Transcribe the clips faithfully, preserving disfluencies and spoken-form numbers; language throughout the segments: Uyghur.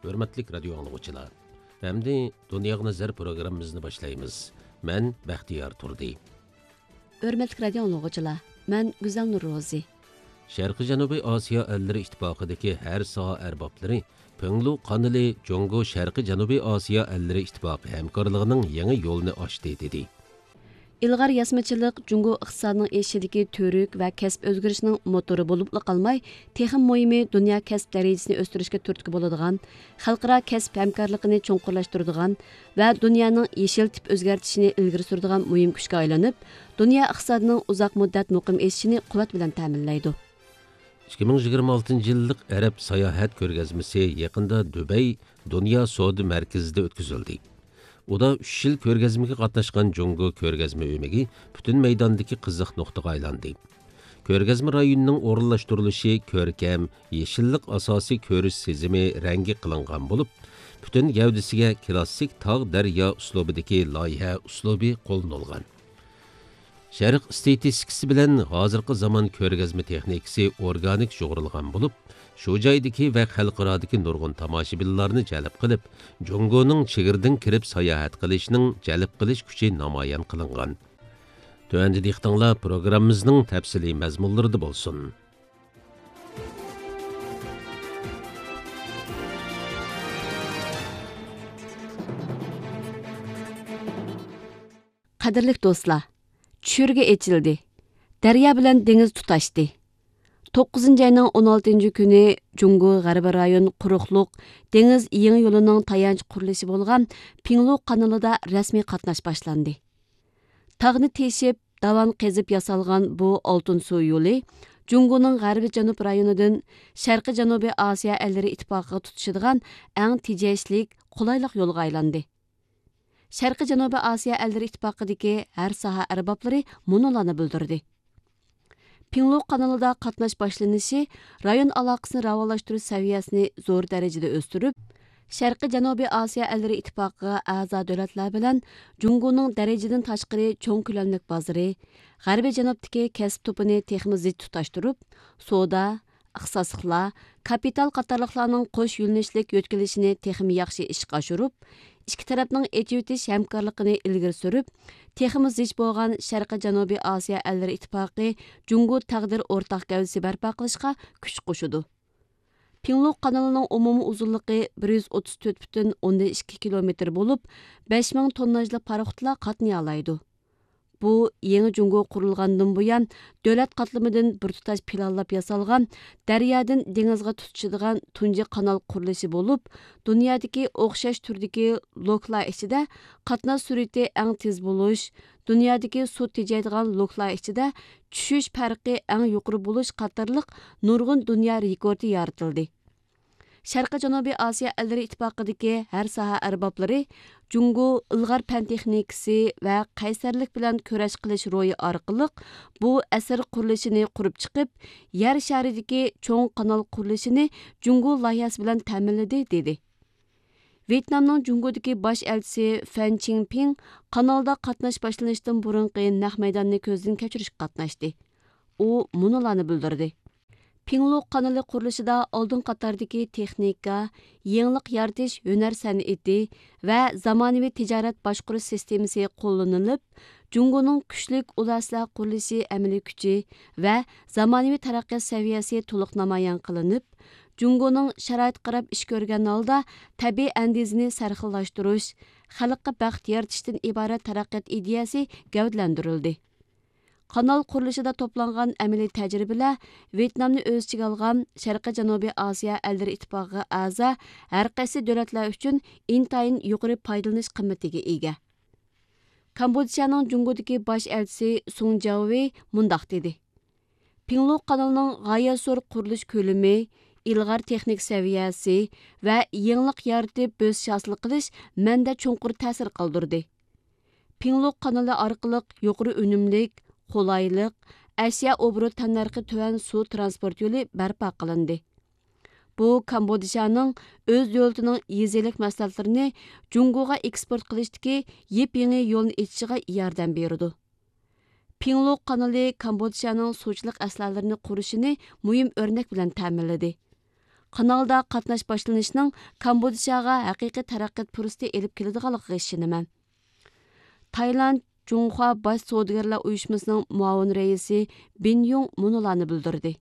ھۆرمەتلىك رادىيو ئاڭلىغۇچىلار، ئەمدى دۇنياغا نەزەر پروگراممىمىزنى باشلايمىز. مەن بەختىيار تۇردى. ھۆرمەتلىك رادىيو ئاڭلىغۇچىلار، مەن گۈزەلنۇر روزى. شەرقىي جەنۇبىي ئاسىيا ئەللىرى ئىتتىپاقىدىكى ھەر ساھە ئەربابلىرى پىڭلۇ قانىلى جۇڭگو شەرقىي جەنۇبىي ئاسىيا ئەللىرى ئىتتىپاقى ھەمكارلىقىنىڭ يېڭى يولىنى ئاچتى، دېدى. ئىلغار ياسىمىچىلىق جۇڭگو ئىقتىسادىنىڭ ئېشىشىدىكى تۈۋرۈك ۋە كەسىپ ئۆزگىرىشىنىڭ موتورى بولۇپلا قالماي، تېخىمۇ مۇھىمى دۇنيا كەسىپ دەرىجىسىنى ئۆستۈرۈشكە تۈرتكە بولىدىغان، خەلقئارا كەسىپ ھەمكارلىقىنى چوڭقۇرلاشتۇرىدىغان ۋە دۇنيانىڭ يېشىل تىپ ئۆزگەرتىشىنى ئىلگىرى سۈرىدىغان مۇھىم كۈچكە ئايلىنىپ، دۇنيا ئىقتىسادىنىڭ ئۇزاق مۇددەت مۇقىم ئېشىشىنى قۇۋۋەت بىلەن تەمىنلەيدۇ. ئىككى مىڭ يىگىرمە ئالتىنچى يىللىق ئەرەب ساياھەت كۆرگەزمىسى يېقىندا دۇبەي دۇنيا سودا مەركىزىدە ئۆتكۈزۈلدى. ئۇدا ئۈچ يىل كۆرگەزمىگە قاتناشقان جۇڭگو كۆرگەزمە ئۆمىكى پۈتۈن مەيداندىكى قىزىق نۇقتىغا ئايلاندى. كۆرگەزمە رايونىنىڭ ئورۇنلاشتۇرۇلۇشى كۆركەم، يېشىللىق ئاساسىي كۆرۈش سىزىمى رەڭگى قىلىنغان بولۇپ، پۈتۈن گەۋدىسىگە كلاسسىك تاغ دەريا ئۇسلۇبىدىكى لايىھە ئۇسلۇبى قوللىنىلغان. شەرق ئېستېتىكىسى بىلەن ھازىرقى زامان كۆرگەزمە تېخنىكىسى ئورگانىك يۇغۇرۇلغان بولۇپ، شۇ جايدىكى ۋە خەلقئارادىكى نۇرغۇن تاماشىبىنلارنى جەلپ قىلىپ، جۇڭگونىڭ چېگرىدىن كىرىپ ساياھەت قىلىشىنىڭ جەلپ قىلىش كۈچى نامايان قىلىنغان. تۆۋەندە دىققىتىڭلار پروگراممىمىزنىڭ تەپسىلىي مەزمۇنلىرىدا بولسۇن. قەدىرلىك دوستلار، چۈشۈرگە ئېچىلدى. دەريا بىلەن دېڭىز تۇتاشتى. توققۇزىنچى ئاينىڭ ئون ئالتىنچى كۈنى جۇڭگو غەربىي رايون قۇرۇقلۇق دېڭىز يېڭى يولىنىڭ تايانچ قۇرۇلۇشى بولغان پىڭلۇ قانىلىدا رەسمىي قاتناش باشلاندى. تاغنى تېشىپ، داۋان قېزىپ ياسالغان بۇ ئالتۇن سۇ يولى جۇڭگونىڭ غەربىي جەنۇب رايونىدىن شەرقىي جەنۇبىي ئاسىيا ئەللىرى ئىتتىپاقىغا تۇتىشىدىغان ئەڭ تېجەشلىك، قولايلىق يولغا ئايلاندى. شەرقىي جەنۇبىي ئاسىيا ئەللىرى ئىتتىپاقىدىكى ھەر ساھە ئەربابلىرى مۇنۇلارنى بىلدۈردى. پىڭلۇ قانىلىدا قاتناش باشلىنىشى رايون ئالاقىسىنى راۋانلاشتۇرۇش سەۋىيەسىنى زور دەرىجىدە ئۆستۈرۈپ، شەرقىي جەنۇبىي ئاسىيا ئەللىرى ئىتتىپاقىغا ئەزا دۆلەتلەر بىلەن جۇڭگونىڭ دەرىجىدىن تاشقىرى چوڭ كۆلەملىك بازىرى، غەربىي جەنۇبتىكى كەسىپ توپىنى تېخىمۇ زىچ تۇتاشتۇرۇپ، سودا، ئىختىساسلىقلار، كاپىتال قاتارلىقلارنىڭ قوش يۆنىلىشلىك يۆتكىلىشىنى تېخىمۇ ياخشى ئىشقا ئاشۇرۇپ، ئىككى تەرەپنىڭ ئېچىۋېتىش ھەمكارلىقىنى ئىلگىرى سۈرۈپ، تېخىمۇ زىچ بولغان شەرقىي جەنۇبىي ئاسىيا ئەللىرى ئىتتىپاقى جۇڭگو تەقدىر ئورتاق گەۋدىسى بەرپا قىلىشقا كۈچ قوشىدۇ. پىڭلۇ قانىلىنىڭ ئومۇمىي ئۇزۇنلۇقى بىر يۈز ئوتتۇز تۆت پۈتۈن ئوندىن ئىككى كىلومېتىر بولۇپ، بەش مىڭ تونناژلىق پاراخوتلار قاتنىيالايدۇ. بۇ يېڭى جۇڭگو قۇرۇلغاندىن بۇيان، دۆلەت قاتلىمىدىن بىر تۇتاش پىلانلاپ ياسالغان دەريادىن دېڭىزغا تۇتىشىدىغان تۇنجى قانال قۇرۇلۇشى بولۇپ، دۇنيادىكى ئوخشاش تۈردىكى لوكلار ئىچىدە قاتناش سۈرئىتى ئەڭ تېز بولۇش، دۇنيادىكى سۇ تېجەيدىغان لوكلار ئىچىدە چۈشۈش پەرقى ئەڭ يۇقىرى بولۇش قاتارلىق نۇرغۇن دۇنيا رېكورتى يارىتىلدى. شەرقىي جەنۇبىي ئاسىيا ئەللىرى ئىتتىپاقىدىكى ھەر ساھە ئەربابلىرى جۇڭگو ئىلغار پەن تېخنىكىسى ۋە قەيسەرلىك بىلەن كۈرەش قىلىش روھى ئارقىلىق بۇ ئەسىر قۇرۇلۇشىنى قۇرۇپ چىقىپ، يەر شارىدىكى چوڭ قانال قۇرۇلۇشىنى جۇڭگو لايىھەسى بىلەن تەمىنلىدى، دېدى. ۋيېتنامنىڭ جۇڭگودىكى باش ئەلچىسى فەن چىڭپىڭ قانالدا قاتناش باشلىنىشتىن بۇرۇنقى نەق مەيداننى كۆزدىن كەچۈرۈشكە قاتناشتى. ئۇ مۇنۇلارنى بىلدۈردى. پىڭلۇ قانىلى قۇرۇلۇشىدا ئالدىن قاتاردىكى تېخنىكا، يېڭىلىق يارىتىش ھۈنەر سەنئىتى ۋە زامانىۋى تىجارەت باشقۇرۇش سىستېمىسى قوللىنىلىپ، جۇڭگونىڭ كۈچلۈك ئۇل ئەسلىھە قۇرۇلۇشى ئەمەلىي كۈچى ۋە زامانىۋى تەرەققىيات سەۋىيەسى تولۇق نامايان قىلىنىپ، جۇڭگونىڭ شارائىتقا قاراپ ئىش كۆرگەن ھالدا تەبىئىي ئەندىزىنى سەرخىللاشتۇرۇش، خەلققە بەخت يارىتىشتىن ئىبارەت تەرەققىيات ئىدىيەسى گەۋدىلەندۈرۈلدى. قانال قۇرۇلۇشىدا توپلانغان ئەمەلىي تەجرىبىلەر ۋيېتنامنى ئۆز ئىچىگە ئالغان شەرقىي جەنۇبىي ئاسىيا ئەللىرى ئىتتىپاقىغا ئەزا ھەر قايسى دۆلەتلەر ئۈچۈن ئىنتايىن يۇقىرى پايدىلىنىش قىممىتىگە ئىگە. كامبودژانىڭ جۇڭگودىكى باش ئەلچىسى سۇڭ جياۋېي مۇنداق دېدى: پىڭلۇ قانىلىنىڭ غايەت زور قۇرۇلۇش كۆلىمى، ئىلغار تېخنىك سەۋىيەسى ۋە يېڭىلىق يارىتىپ بۆسۈش ھاسىل قىلىش مەندە چوڭقۇر تەسىر قالدۇردى. پىڭلۇ قانىلى ئارقىلىق يۇقىرى ئۈنۈملۈك، قولايلىق، ئەشيا ئوبوروت تەننەرخى تۆۋەن سۇ ترانسپورت يولى بەرپا قىلىندى. بۇ كامبودژانىڭ ئۆز دۆلىتىنىڭ يېزا ئىگىلىك مەھسۇلاتلىرىنى جۇڭگوغا ئېكسپورت قىلىشتىكى يېپيېڭى يولنى ئېچىشىغا ياردەم بېرىدۇ. پىڭلۇ قانىلى كامبودژانىڭ سۇچىلىق ئەسلىھەلىرىنى قۇرۇشىنى مۇھىم ئۆرنەك بىلەن تەمىنلىدى. قانالدا قاتناش باشلىنىشىنىڭ كامبودژاغا ھەقىقىي تەرەققىيات پۇرسىتى ئېلىپ كېلىدىغانلىقىغا ئىشىنىمەن. تايلاند جۇڭخۇا باش سودىگەرلەر ئۇيۇشمىسىنىڭ مۇئاۋىن رەئىسى بىن يۇڭ مۇنۇلارنى بىلدۈردى: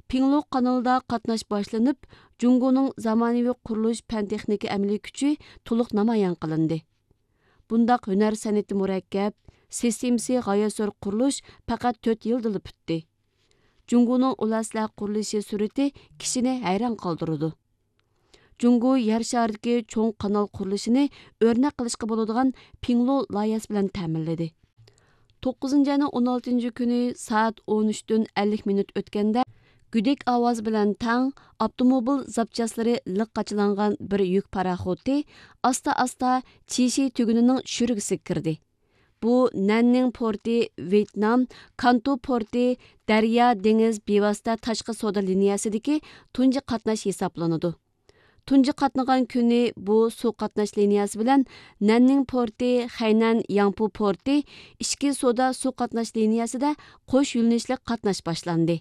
پىڭلۇ قانىلىدا قاتناش باشلىنىپ، جۇڭگونىڭ زامانىۋى قۇرۇلۇش پەن تېخنىكا ئەمەلىي كۈچى تولۇق نامايان قىلىندى. بۇنداق ھۈنەر سەنئىتى مۇرەككەپ، سىستېمىسى غايەت زور قۇرۇلۇش پەقەت تۆت يىلدىلا پۈتتى. جۇڭگونىڭ ئۇل ئەسلىھە قۇرۇلۇشى سۈرئىتى كىشىنى ھەيران قالدۇرىدۇ. جۇڭگو يەر شارىدىكى چوڭ قانال قۇرۇلۇشىنى ئۆرنەك قىلىشقا بولىدىغان پىڭلۇ لايىھەسى بىلەن تەمىنلىدى. توققۇزىنچى ئاينىڭ ئون ئالتىنچى كۈنى سائەت ئون ئۈچتىن ئەللىك مىنۇت ئۆتكەندە، گۈدۈك ئاۋازى بىلەن تەڭ ئاپتوموبىل زاپچاسلىرى لىق قاچىلانغان بىر يۈك پاراخوتى ئاستا-ئاستا چىشى تۈگۈنىنىڭ شۈرىگىسىگە كىردى. بۇ نەننىڭ پورتى، ۋيېتنام، كانتۇ پورتى، دەريا، دېڭىز بىۋاسىتە تاشقى سودا لىنىيەسىدىكى تۇنجى قاتناش ھېسابلىنىدۇ. تۇنجى قاتنىغان كۈنى بۇ سۇ قاتناش لىنىيەسى بىلەن نەننىڭ پورتى، خەينەن ياڭپۇ پورتى ئىچكى سودا سۇ قاتناش لىنىيەسىدە قوش يۆنىلىشلىك قاتناش باشلاندى.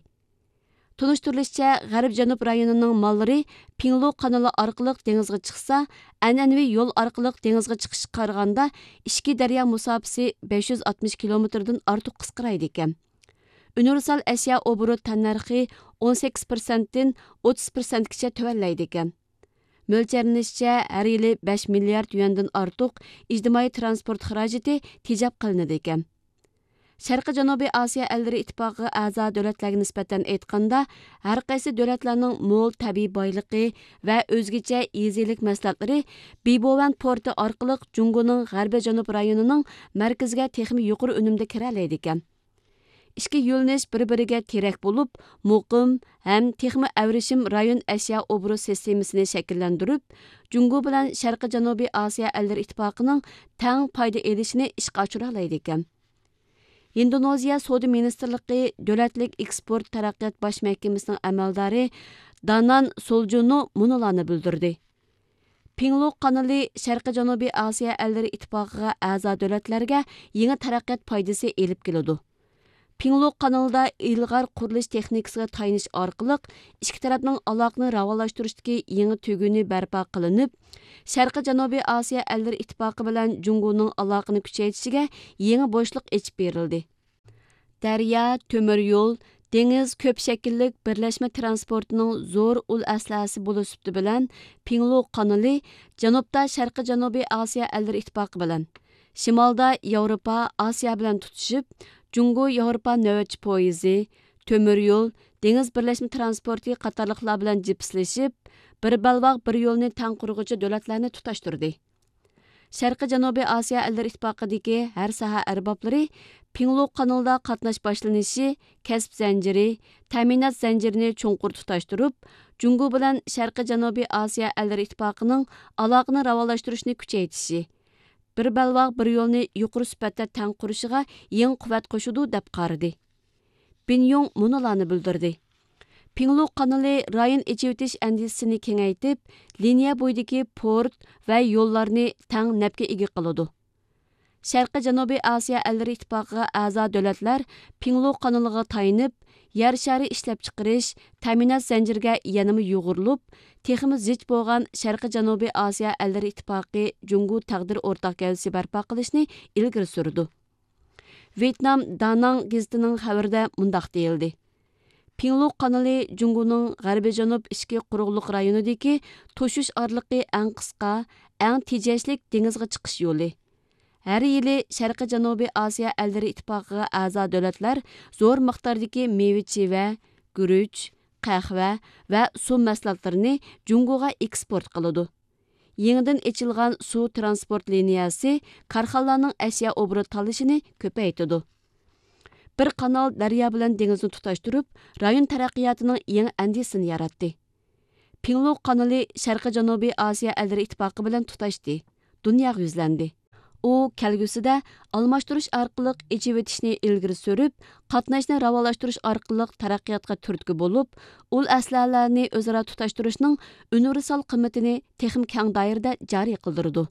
تونۇشتۇرۇلۇشىچە، غەربىي جەنۇب رايونىنىڭ ماللىرى پىڭلۇ قانىلى ئارقىلىق دېڭىزغا چىقسا، ئەنئەنىۋى يول ئارقىلىق دېڭىزغا چىقىشقا قارىغاندا، ئىچكى دەريا مۇساپىسى بەش يۈز ئاتمىش كىلومېتىردىن ئارتۇق قىسقىرايدىكەن. ئۇنىۋېرسال ئەشيا ئوبوروت تەننەرخى ئون سەككىز پىرسەنتتىن ئوتتۇز پىرسەنتكىچە تۆۋەنلەيدىكەن. مۆلچەرلىنىشىچە، ھەر يىلى بەش مىليارد يۈەندىن ئارتۇق ئىجتىمائىي تىرانسپورت خىراجىتى تېجەپ قىلىنىدىكەن. شەرقىي جەنۇبىي ئاسىيا ئەللىرى ئىتتىپاقىغا ئەزا دۆلەتلەرگە نىسبەتەن ئېيتقاندا، ھەر قايسى دۆلەتلەرنىڭ مول تەبىئىي بايلىقى ۋە ئۆزگىچە يېزا ئىگىلىك مەھسۇلاتلىرى بىبوۋەن پورتى ئارقىلىق جۇڭگونىڭ غەربىي جەنۇب رايونىنىڭ مەركىزىگە تېخىمۇ يۇقىرى ئۈنۈمدە كىرەلەيدىكەن. ئىككى يۆنىلىش بىر-بىرىگە تىرەك بولۇپ، مۇقىم ھەم تېخىمۇ ئەۋرىشىم رايون ئەشيا ئوبوروت سىستېمىسىنى شەكىللەندۈرۈپ، جۇڭگو بىلەن شەرقىي جەنۇبىي ئاسىيا ئەللىرى ئىتتىپاقىنىڭ تەڭ پايدا ئېلىشىنى ئىشقا ئاشۇرالايدىكەن. ھىندونېزىيە سودا مىنىستىرلىقى دۆلەتلىك ئېكسپورت تەرەققىيات باش مەھكىمىسىنىڭ ئەمەلدارى دانان سولجۇنو مۇنۇلارنى بىلدۈردى: پىڭلۇ قانىلى شەرقىي جەنۇبىي ئاسىيا ئەللىرى ئىتتىپاقىغا ئەزا دۆلەتلەرگە يېڭى تەرەققىيات پايدىسى ئېلىپ كېلىدۇ. پىڭلۇ قانىلىدا ئىلغار قۇرۇلۇش تېخنىكىسىغا تايىنىش ئارقىلىق ئىككى تەرەپنىڭ ئالاقىنى راۋانلاشتۇرۇشتىكى يېڭى تۈگۈنى بەرپا قىلىنىپ، شەرقىي جەنۇبىي ئاسىيا ئەللىرى ئىتتىپاقى بىلەن جۇڭگونىڭ ئالاقىنى كۈچەيتىشىگە يېڭى بوشلۇق ئېچىپ بېرىلدى. دەريا، تۆمۈر يول، دېڭىز كۆپ شەكىللىك بىرلەشمە تىرانسپورتىنىڭ زور ئۇل ئەسلىھەسى بولۇش سۈپىتى بىلەن، پىڭلۇ قانىلى جەنۇبتا شەرقىي جەنۇبىي ئاسىيا ئەللىرى ئىتتىپاقى بىلەن، شىمالدا ياۋروپا، ئاسىيا بىلەن تۇتىشىپ، جۇڭگو ياۋروپا نۆۋەتچى پويىزى، تۆمۈر يول، دېڭىز بىرلەشمە تىرانسپورتى قاتارلىقلار بىلەن جىپسلىشىپ، بىر بەلباغ بىر يولنى تەڭ قۇرغۇچى دۆلەتلەرنى تۇتاشتۇردى. شەرقىي جەنۇبىي ئاسىيا ئەللىرى ئىتتىپاقىدىكى ھەر ساھە ئەربابلىرى پىڭلۇ قانىلىدا قاتناش باشلىنىشى، كەسىپ زەنجىرى، تەمىنات زەنجىرىنى چوڭقۇر تۇتاشتۇرۇپ، جۇڭگو بىلەن شەرقىي جەنۇبىي ئاسىيا ئەللىرى ئىتتىپاقىنىڭ ئالاقىنى راۋانلاشتۇرۇشنى كۈچەيتىشى، بىر بەلباغ بىر يولنى يۇقىرى سۈپەتتە تەڭ قۇرۇشىغا يېڭى قۇۋۋەت قوشىدۇ، دەپ قارىدى. بىن يۇڭ مۇنۇلارنى بىلدۈردى: پىڭلۇ قانىلى رايون ئېچىۋېتىش ئەندىزىسىنى كېڭەيتىپ، لىنىيە بويىدىكى پورت ۋە يوللارنى تەڭ نەپكە ئىگە قىلىدۇ. شەرقىي جەنۇبىي ئاسىيا ئەللىرى ئىتتىپاقىغا ئەزا دۆلەتلەر پىڭلۇ قانىلىغا تايىنىپ، يەر شارى ئىشلەپچىقىرىش، تەمىنات زەنجىرىگە يەنىمۇ يۇغۇرۇلۇپ، تېخىمۇ زىچ بولغان شەرقىي جەنۇبىي ئاسىيا ئەللىرى ئىتتىپاقى جۇڭگو تەقدىر ئورتاق گەۋدىسى بەرپا قىلىشنى ئىلگىرى سۈرىدۇ. ۋيېتنام داناڭ گېزىتىنىڭ خەۋىرىدە مۇنداق دېيىلدى: پىڭلۇ قانىلى جۇڭگونىڭ غەربىي جەنۇب ئىچكى قۇرۇقلۇق رايونىدىكى توشۇش ئارىلىقى ئەڭ قىسقا، ئەڭ تېجەشلىك دېڭىزغا چىقىش يولى. ھەر يىلى شەرقىي جەنۇبىي ئاسىيا ئەللىرى ئىتتىپاقىغا ئەزا دۆلەتلەر زور مىقداردىكى مېۋە-چىۋە، گۈرۈچ، قەھۋە ۋە سۇ مەھسۇلاتلىرىنى جۇڭگوغا ئېكسپورت قىلىدۇ. يېڭىدىن ئېچىلغان سۇ تىرانسپورت لىنىيەسى كارخانىلارنىڭ ئەشيا ئوبوروت تاللىشىنى كۆپەيتىدۇ. بىر قانال دەريا بىلەن دېڭىزنى تۇتاشتۇرۇپ، رايون تەرەققىياتىنىڭ يېڭى ئەندىزىسىنى ياراتتى. پىڭلۇ قانىلى شەرقىي جەنۇبىي ئاسىيا ئەللىرى ئىتتىپاقى بىلەن تۇتاشتى، دۇنياغا يۈزلەندى. ئۇ كەلگۈسىدە ئالماشتۇرۇش ئارقىلىق ئېچىۋېتىشنى ئىلگىرى سۈرۈپ، قاتناشنى راۋانلاشتۇرۇش ئارقىلىق تەرەققىياتقا تۈرتكە بولۇپ، ئۇل ئەسلىھەلەرنى ئۆزئارا تۇتاشتۇرۇشنىڭ ئۇنىۋېرسال قىممىتىنى تېخىمۇ كەڭ دائىرىدە جارى قىلدۇرىدۇ.